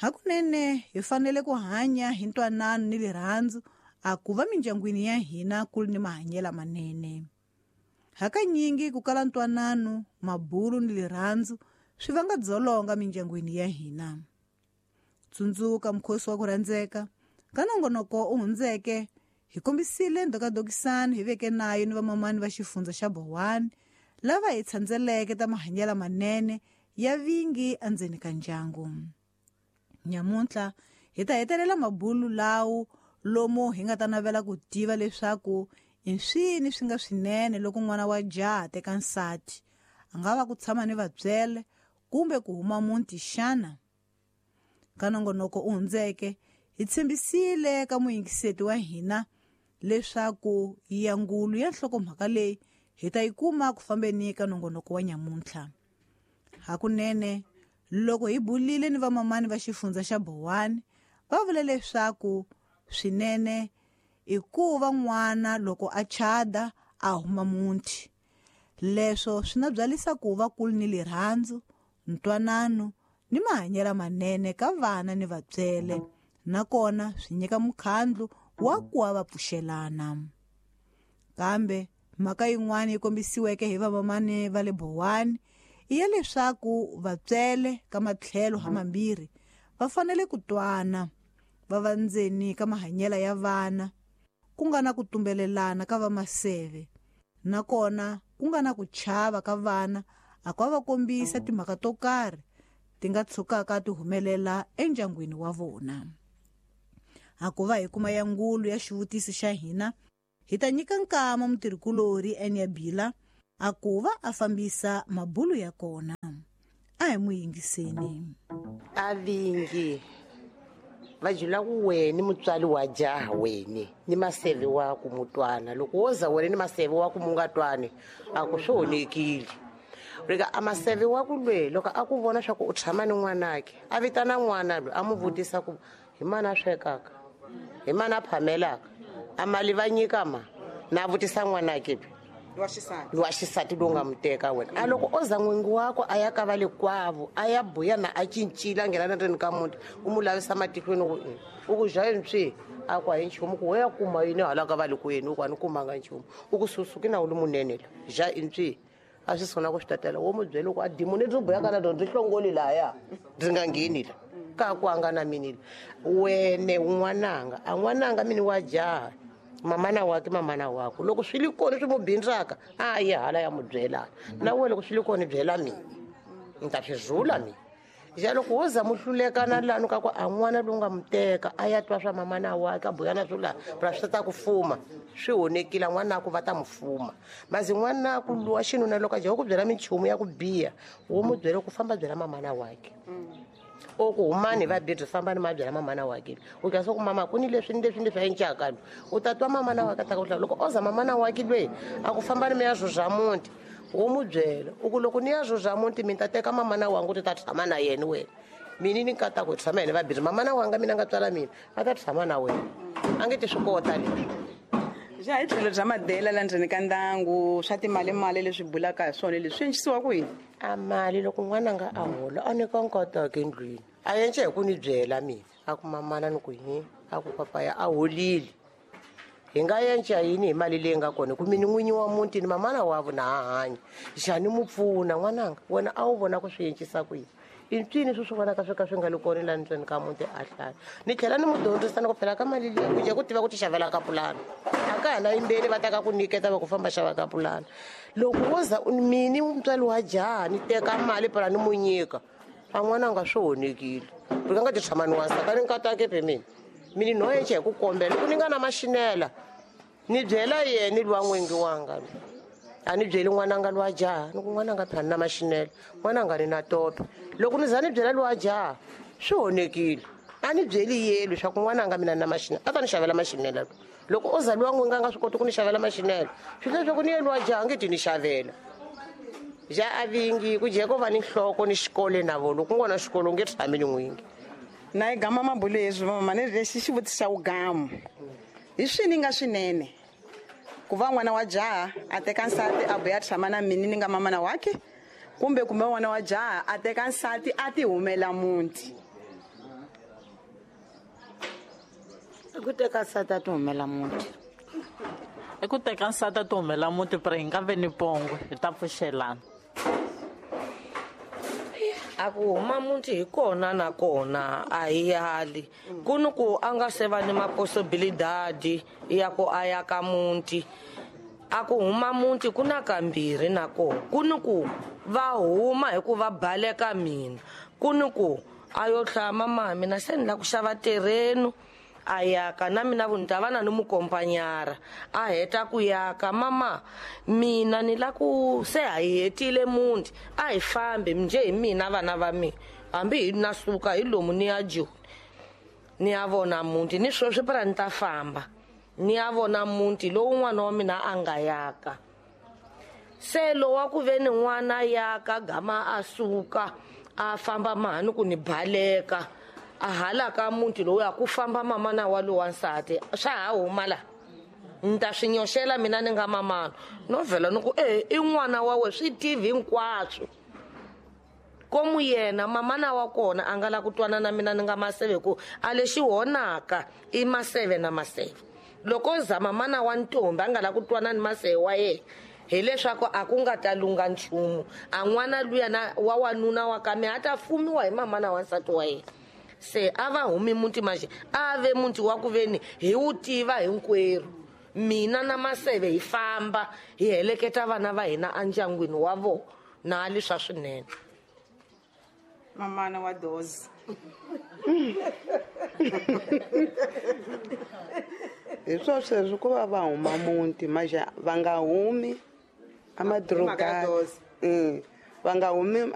Hakunene hi fanele ku hanya hi ntwanano ni rirhandzu a ku va mindyangwini ya hina ku ri ni mahanyelo manene. Hakanyingi ku kala ntwanano, mabulu ni rirhandzu swi vanga dzolonga mindyangwini ya hina. Tsundzuka mukhosi wa ku rhandzeka ka nongonoko u hundzeke hi kombisile ndhokadokisano hi veke nayo ni vamamani va xifundza xa Bowani lava hi tshandzeleke ta mahanyelo manene ya vingi endzeni ka ndyangu. Nyamuntlha hi ta hetelela mabulu lawo lomu hi nga ta navela ku tiva leswaku i swini swi nga swinene loko n'wana wa jaha teka nsati, a nga va ku tshama ni vatswele kumbe ku huma muti xana? Ka nongonoko u hundzeke hi tshembisile ka muyingiseti wa hina leswaku yangulu ya nhlokomhaka leyi hi ta yi kuma ku fambeni ka nongonoko wa nyamuntlha. Hakunene loko hi bulile ni vamamani va xifundza xa Bowani va vule leswaku swinene i ku va n'wana loko a chada a huma muti. Leswo swi na byalisa ku va kulu ni rirhandzu, ntwanano ni mahanyelo manene ka vana ni vatswele, nakona swi nyika mukhandlu wa ku va pfuxelana. Kambe mhaka yin'wana yi kombisiweke hi vamamani va le Bowani i ya leswaku vatswele ka matlhelo hamambirhi va fanele ku twana va va ndzeni ka mahanyelo ya vana, ku nga na ku tumbelelana ka vamaseve, nakona ku nga na ku chava ka vana a ku va kombisa timhaka to karhi ti nga tshukaka ti humelela endyangwini wa vona. A ku va hi kuma ya ngulu ya xivutiso xa hina, hi ta nyika nkama mutirhikulori Enya Bila a ku va a fambisa mabulu ya kona. A hi n'wi yingiseni. A vingi va jula ku wena mutswari wa jaha wena ni maseve wa ku mutwana, loko wo za wena ni maseve wa ku mu nga twani a ku swi onhekile. Rika a maseve wa ku lwe loko a ku vona swa ku u tshama ni n'wanake, a vitana n'wana loyi a mu vutisa ku hi mani a swekaka, hi mani a phamelaka, a mali va nyika ma na vutisa n'wanake Wa xisati. Wa xisati lowu nga mu teka wena. A loko o za n'wingi wakwe a ya ka va le kwavo, a ya buya na a cincile a nghena na ndzeni ka muti, u mu lavisa matihlweni ku u ku ja yini swi? A ku a hi nchumu, ku we ya kuma yini hala ka va le kwenu, u ku a ni kumanga nchumu. U ku susuki na u li munene la, ja yini swi? A swi sungula ku swi tatela, wo mu byela ku a dimoni byi buyaka na byona byi hlongoli lahaya, byi nga ngheni la. Ka ku a nga na mini la. Wene n'wananga, a n'wananga mini wa jaha, mamana wakhe mamana wakho, loko swi li kona swi mu bindzaka, a yi hala ya mu byela. Na wena loko swi li kona byela mina, ni ta swi zula mina. Ja loko wo za mu hlulekana lani ka ku a n'wana lowu nga mu teka a ya twa swa mamana wakhe a buya na swo laha, phela swi ta ku fuma, swi onhekile n'wana ku va ta mu fuma. Mazi n'wana ku luwa xinuna loko a jaha ku byela minchumu ya ku biha, wo mu byela ku famba byela mamana wakhe. O ku humani va bidzi famba ni ma byela mamana wakhe. U twa swa ku mama ku ni leswi ni leswi ni leswi a encaka lo. U ta twa mamana wakhe ta ku hlaya. Loko o za mamana wakhe lwe a ku famba ni mi ya zuzha muti, wo mu byela u ku loko ni ya zuzha muti mi ta teka mamana wangu ti ta tshama na yena wena. Mina ni nkata ku tshama yena va bidzi mamana wanga mina nga tswala mina a ta tshama na wena. A nge ti swi kota leswi. Ja hi tlhelo bya madela la ndzeni ka ndyangu swa timali-mali leswi bulaka hi swona leswi swi endlisiwa ku yini? A mali loko n'wana nga a hola a nyika nkataka endlwini, a endla hi ku ni byela mina, a ku mamana ni ku hi, a ku papaya a holile. Hi nga endla yini hi mali leyi nga kona? Ku mina n'winyi wa muti ni mamana wa vona ha hanya. Njhani mu pfuna n'wananga? Wena a wu vona ku swi endlisa ku yini? I ncini swi swi vonaka swi ka swi nga li kona laha ndzeni ka muti a hlaya. Ni tlhela ni mu dyondzisa ni ku phela ka mali leyi ku dya ku tiva ku ti xavela ka pulani. A ka ha na yimbeni va ta ka ku nyiketa va ku famba xava ka pulani. Loko wo za mini mutswari wa jaha ni teka mali phela ni mu nyika, a n'wana nga swi onhekile. Ri nga ti tshama ni wansati a ni nkatake phe mina. Mini no endla hi ku kombela loko ni nga na maxinela ni byela yena luwa n'wingi wanga. A ni byeli n'wananga luwa jaha, ni ku n'wananga phela ni na maxinela, n'wananga ni na tope. Loko ni za ni byela luwa jaha swi onhekile. A ni byeli yena leswaku n'wananga mina ni na maxinela, a ta ni xavela maxinela. Loko o za luwa n'wingi a nga swi koti ku ni xavela maxinela, swi vula leswaku ni ye luwa jaha a nge ti ni xavela. Ja a vingi ku jeka va ni nhloko ni xikolo na vona, loko ku nga na xikolo u nge tshami ni n'wingi. Na yi gama mabulu leswi mama ni lexi xivutiso xa vugamu. Hi swini nga swinene ku va n'wana wa jaha a teka nsati a vuya tshama na mina ni nga mamana wakhe, kumbe kumbe n'wana wa jaha a teka nsati a ti humela muti? I ku teka nsati a ti humela muti. I ku teka nsati a ti humela muti pero hi nga ve ni pongwe hi ta pfuxelana. A ku huma muti hi kona na kona a hi yali ku ni ku a nga se va ni maposibilidadi ya ku a ya ka muti. A ku huma muti ku na kambirhi na kona ku ni ku va huma hi ku va baleka mina, ku ni ku a yo hlaya mama mina se ni la ku xava terreno a yaka na mina vu ni ta va na ni mukompanyara a heta ku yaka mama mina ni la ku se ha hi hetile muti a hi fambi njhe hi mina vana va mina hambi hi na suka hi lomu ni ya Joni ni ya vona muti ni sweswi para ni ta famba ni ya vona muti lowu n'wana wa mina a nga yaka. Se lowa ku ve ni n'wana yaka gama a suka a famba mahani ku ni baleka a hala ka muti lowu ya ku famba mamana wa lowa nsati swa ha huma la ni ta swi nyoxela mina ni nga mamana no vhela ni ku e i n'wana wa we swi tivi hinkwaswo komu yena mamana wa kona a nga la ku twana na mina ni nga maseve ku a lexi honaka i maseve na maseve loko za mamana wa ntombi a nga la ku twana ni maseve wa yena hileswaku a ku nga ta lunga nchumu a n'wana luya na wa wanuna wa ka mina a ta fumiwa hi mamana wa nsati wa yena. Se a va humi muti manje a ve muti wa ku veni hi wu tiva hinkwerhu mina na maseve hi famba hi heleketa vana va hina endyangwini wa vona na leswa swinene. Mamana wa dozi hi swo sweswo ku va va huma muti manje va nga humi amadorobeni va nga humi.